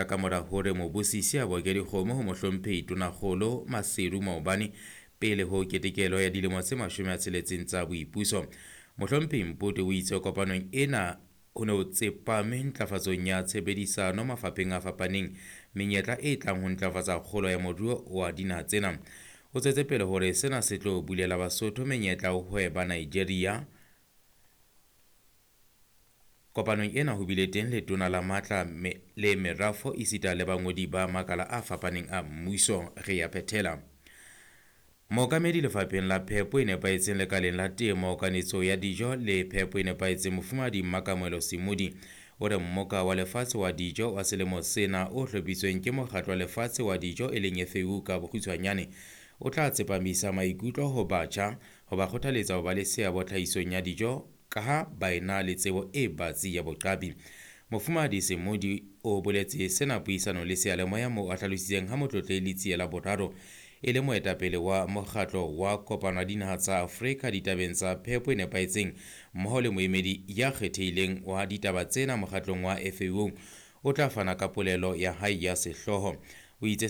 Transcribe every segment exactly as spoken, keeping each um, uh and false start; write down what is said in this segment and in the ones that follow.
Ka mora hore mobusisi a boke dikgomo ho mohlomphehi Tonakgolo Maseru maobane pele ho ketekelo ya dilemo tse mashome a tsheletseng tsa boipuso. Mohlomphehi Mpoto o itse kopanong ena ho ne ho tsepame ntlafatsong ya tshebedisano mafapheng a fapaneng, menyetla e tlang ho ntlafatsa kgolo ya moruo wa dinaha tsena. O tswetse pele hore sena se tlo bulela Basotho menyetla ho hweba Nigeria. Kopanong ena ho bile teng letona la matla me, le merafo esita le bangodi ba makala a fapaneng a mmuso. Re ya phethela. Mookamedi lefapheng la phepo e nepahetseng lekaleng la temo, kanetso ya dijo le phepo e nepahetseng, Mofumahadi Mmakamohelo Semodi o re mmoka wa lefatshe wa dijo wa selemo sena o hlophisitsweng ke mokgatlo wa lefatshe wa dijo e leng F A O ka bokgutshwanyane o tla tsepamisa maikutlo ho batjha ho ba kgothaletsa ho ba le seabo tlhahisong ya dijo ka ha ba ena le tsebo e batsi ya boqapi. Mofumahadi Semodi o boletse sena puisanong le seyalemoya moo a hlalositseng ha Motlotlehi Letsie la Boraro e le moetapele wa mokgatlo wa kopano ya dinaha tsa Afrika ditabeng tsa phepo e nepahetseng mmoho le moemedi ya kgethehileng wa ditaba tsena mokgatlong wa F A O o tla fana ka polelo ya hae ya sehlooho. O itse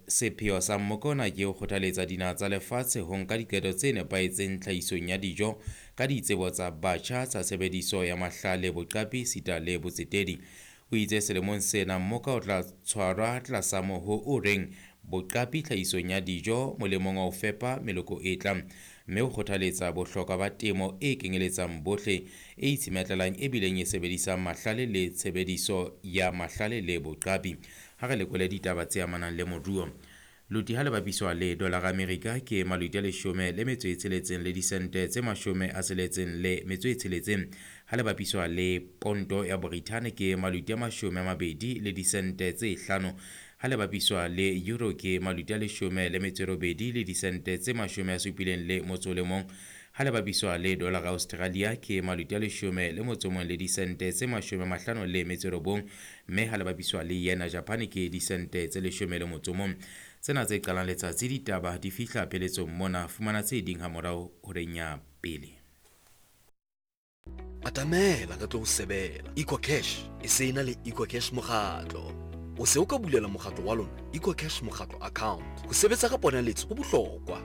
sepheo sa mmoka ona ke ho kgothaletsa dinaha tsa lefatshe ho nka diqeto tse nepahetseng tlhahisong ya dijo ka ditsebo tsa batjha tsa tshebediso ya mahlale, boqapi esita le botsetedi. O itse selemong sena mmoka o tla tshwarwa tlasa moho o reng boqapi tlhahisong ya dijo molemong wa ho fepa meloko e tlang, mme o kgothaletsa bohlokwa ba temo e kenyeletsang bohle, e itshemetlelang e bileng e sebedisang mahlale le tshebediso ya mahlale le boqapi. Ha re lekole ditaba tse amanang le moruo. Loti ha le bapiswa le dolara Amerika ke maloti a leshome le metso e tsheletseng le disente tse mashome a tsheletseng le metso e tsheletseng. Ha le bapiswa le ponto ya Brithani ke maloti a mashome a mabedi le disente tse hlano. Ha le bapiswa le euro ke maloti a leshome le metso e robedi le disente tse mashome a supileng le motso o le mong. Ha le bapiswa le dolara Australia ke maloti a leshome le motso o mong le disente tse mashome a mahlano le metso e robong, mme ha le bapiswa le yena Japan ke disente tse leshome le motso o mong. Tsena tse qalang letsatsi ditaba di fihla pheletsong mona, fumana tse ding ha morao horeng ya pele. Atamela re tlo o sebela. EcoCash e se ena le EcoCash mokgatlo. O se o ka bulela mokgatlo wa lona EcoCash mokgatlo account. Ho sebetsa ka ponaletso ho bohlokwa.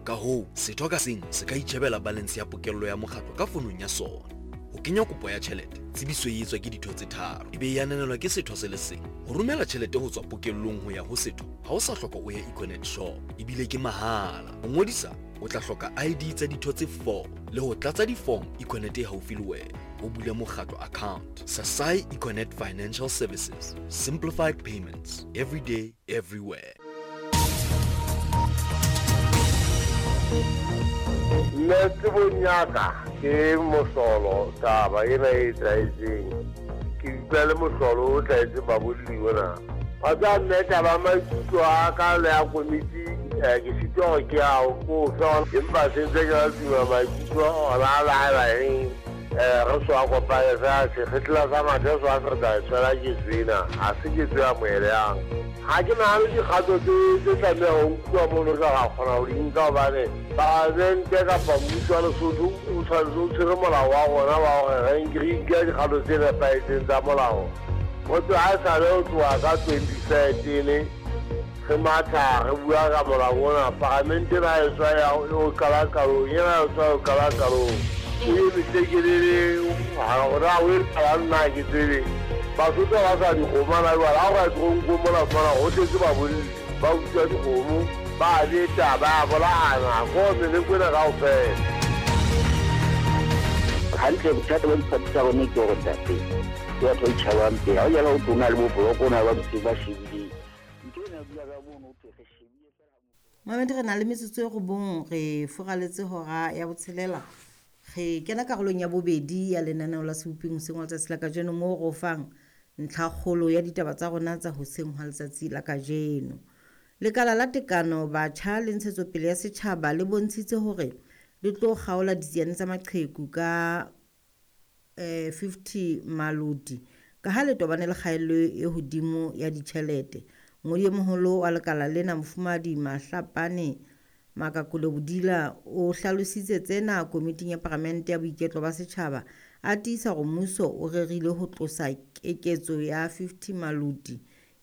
Ka hoo, setho ka seng se ka itjhebela balance ya pokello ya mokgatlo ka fonong ya sona. Ho kenya kopo ya tjhelete, tsebiso e etswa ke ditho tse tharo, ebe e ananelwa ke setho se le seng. Ho romela tjhelete ho tswa pokellong ho ya ho setho, ha o sa hloka o ye Econet shop, ebile ke mahala. Ho ngodisa, o tla hloka I D tsa ditho tse four le ho tlatsa di-form Econet e haufi le wena. O bule mokgatlo account. Sasai Econet Financial Services. Simplified payments. Every day, everywhere. Nna tsebong ya ka ke mohlolo taba ena e etsahetseng. Ke utlwa le mohlolo o tlwaetseng babolli ona. Wa tseba nna taba maikutlo a ka le ya komiti, eh, ke sitwa hore ke a o kofe, empa se ntse ke la tuma maikutlo ona a laela eng. Eh, re so a kopane fela sekgetla sa mathe so a se re tla e tshwela ketso ena, ha se ketso e amohelehang. Ha ke nahane dikgato tse tse tlamehang ho nkuwa mono re tla kgona ho di nka hobane palamente kapa mmuso wa Lesotho o tshwanetse o tshwere molao wa rona wa hore re nke re nke dikgato tse nepahetseng tsa molao. Ho tloha ha esale ho tloha ka twenty thirteen re matha re bua ka molao ona, palamente ena e tswa ya ho qala qalong, ena e tswa ho qala qalong. E metekelele, ha hore ha o e qala nna ha ke tsebe. Basotho ba sa dikgomo hana jwale, ha o ka toronkong mona fumana ho tletse babolli, ba utswa dikgomo, ba beta, ba bolayana, ko meleko ena kaofela. Hantle bothata ba diphathi tsa rona ke hore ntate, ke batho ba itjhabang pele. Ha o jala ho tona le bo boloko, o na le ba dutse ba shebileng. Ntho ena bua ka mono, ho thwe re shebile fela ha motho. Mamedi, re na le metsotso e robong, re furaletse hora ya botshelela. Re kena karolong ya bobedi ya lenaneo la Seboping hoseng hwa letsatsi la kajeno, moo re o fang ntlhakgolo ya ditaba tsa rona tsa hoseng hwa letsatsi la kajeno. Lekala la tekano batjha le ntshetsopele ya setjhaba le bontshitse hore le tlo kgaola ditsiane tsa maqheku ka, eh, fifty maloti ka ha le tobane le kgaello e hodimo ya ditjhelete. Mongodi e moholo wa lekala lena, Mofumahadi Mahlapane Makakole Bodila, o hlalositse tsena komiting ya Palamente ya Boiketlo ba Setjhaba, a tiisa hore mmuso o rerile ho tlosa keketso ya fifty maloti